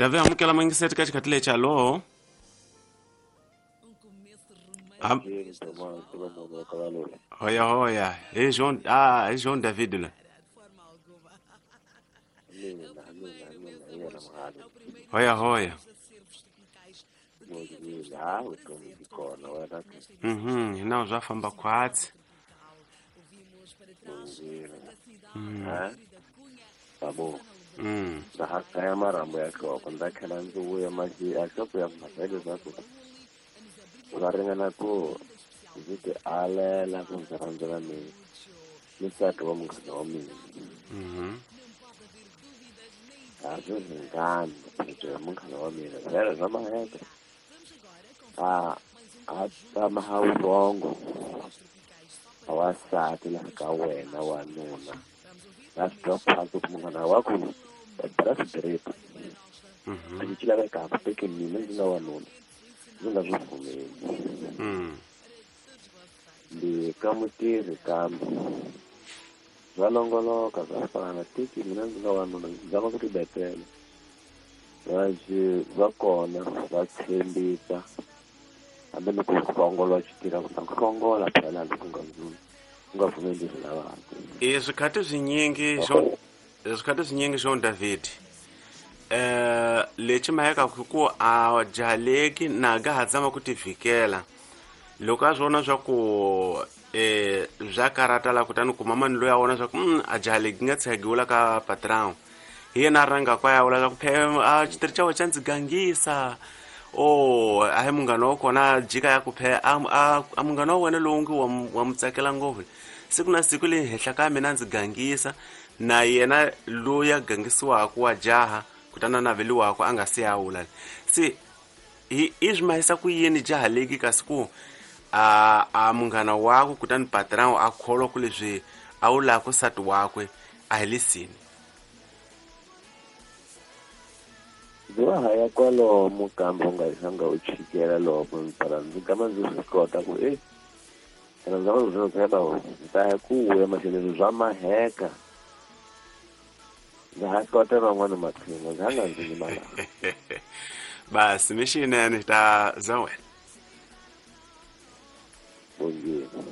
Tave amukela mangiseti ka xikhathi lexi. Hallo. Hoya hoya, hi Jean, hi Jean David la. Hoya hoya. Hina swa famba khwatsi. Babo. Ndza ha kaya marhambu ya nhloko, ndza tlhela ndzi vuya nhloko ya mhaka leswaku va ringana ku ndzi ti alela ku ndzi rhandzela ni nsati wa munghana wa mina. A swi ringani ya munghana wa mina vhele swa maheke a a tama ha vurhongo a wasati laha ka wena wanuna na swi twa phasi ku munghana wa ku bela swidiripa a xi lavekaka teke mina ndzi nga wanuna ndzi nga swi pfumeli. Ndi ka mutirhi kambe swa longoloka swa fana tiki mina ndzi nga wanuna ndzi zama ku tibetela va kona va tshembisa hambi ni ku hlongola xitirha ku hlongola phela loko u nga pfumeli leswi lavaka. I swikhathi swinyingi swikhathi swinyingi Jean David lexi maheka ku a jahaleki na ga ha zama ku tivikela loko a swi vona swa ku bya karata la kutani kuma mani loyi a vona swa ku a jahaleki nga tshagiwula ka patron hi yena a rhanga kwa ya vula swa ku a xitirhi xa wena xa ndzi gangisa o a hi munghana wa kona jika ya ku phe a munghana wa wena lowu ngi wa mu tsakela ngopfu siku na siku leyi henhla ka mina ndzi gangisa na yena loyi a gangisiwaka wa jaha kutani a naveliwaka a nga se ya wula se i swi mahisa ku yini jaha leki kasi ku a munghana wakwe kutani patron a kholwa ku leswi a wu lava ku nsati wakwe a hi lisini. Ndzi wa ha ya kwalomu kambe u nga zanga u chikela loko phela ndzi gama ndzi swi kota ku phela ndzi zama ku tshemba ndzi ta ya ku vuya mahlweni swa maheka ndza ha kota van'wana maqhinga ndzi ha nga ndzi nyimala. Basi mixinene ta za wena. Bongile.